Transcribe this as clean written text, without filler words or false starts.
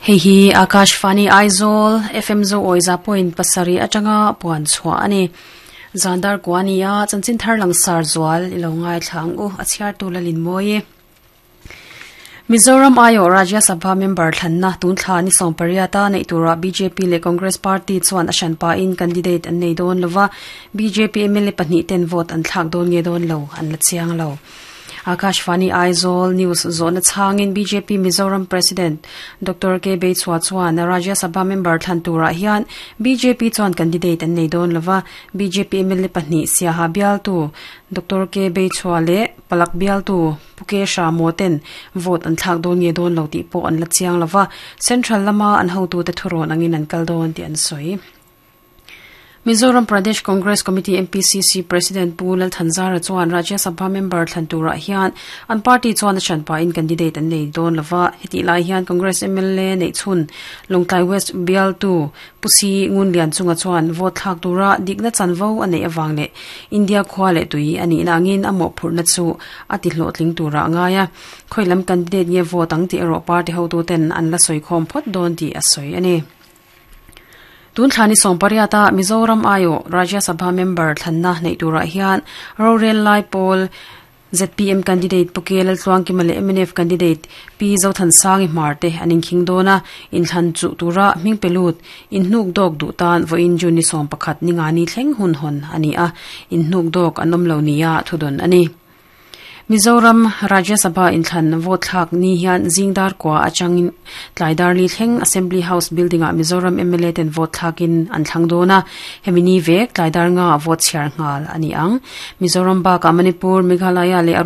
Hei hi Akashvani Aizawl FM Zo Awiza point pasarih atanga puan chhuah a ni. Zandar kua a ni a, chanchin thar langsar zual i lo ngaithla ang u, a chhiartu Lalinmawi. Mizoram aiawh Rajya Sabha member thlanna tun thla ni 18 a neih turah bjp leh Congress party chuan a hran pahin candidate an nei dawn lova, bjp mla pahnih ten vote an thlak dawn nge dawn lo an la chiang lo. Akashvani Aizawl News zawhna chhangin bjp Mizoram President Doctor K Beichhua chuan Rajya Sabha member thlan turah hian bjp chuan candidate an nei dawn lova, bjp mla pahnih Siaha bialtu Doctor K Beichhua leh Palak bialtu Pu K Hramaw ten vote an thlak dawn nge dawn lo tih pawh an la chiang lova, Central lama an hotute thurawn angin an kal dawn tih an sawi. Mizoram Pradesh Congress Committee, MPCC, President Pu Lalthanzara chuan Rajya Sabha member thlan turah hian an party chuan a hranpahin candidate an nei dawn lova. Hetih lai hian Congress mla neih chhun Lawngtlai West bialtu Pu Si Ngunlian chunga chuan vote thlak tura dikna chanvo a neih avang leh India khua leh tui a nihna angin a mawhphurhna chu a ti hlawhtling tura a ngai a. Khawi lam candidate nge vote ang tih erawh party hotuten an la sawikhawm phawt dawn tih a sawi a ni. Tun thla ni 18 a Mizoram aiawh Rajya Sabha member thlanna neih turah hian rorel lai pawl ZPM candidate Pu K Laltluangkima leh mnf candidate Pi Zothansangi Hmar te an inkhing dawn a, inthlan chuh tura hming pe lut inhnuk dawk duh tan vawiin June ni 11 ni nga ni thleng hun hawn a ni a, inhnuk dawk an awm lo nia thudawn a ni. Mizoram Rajya Sabha inthlan vote thlak ni hian zing dar kua atangin tlai dar li thleng Assembly House building-ah Mizoram mla ten vote thlakin an thlang dawn a, hemi ni vek tlai dar nga vote chhiar nghal a ni ang. Mizoram bakah Manipur, Meghalaya leh.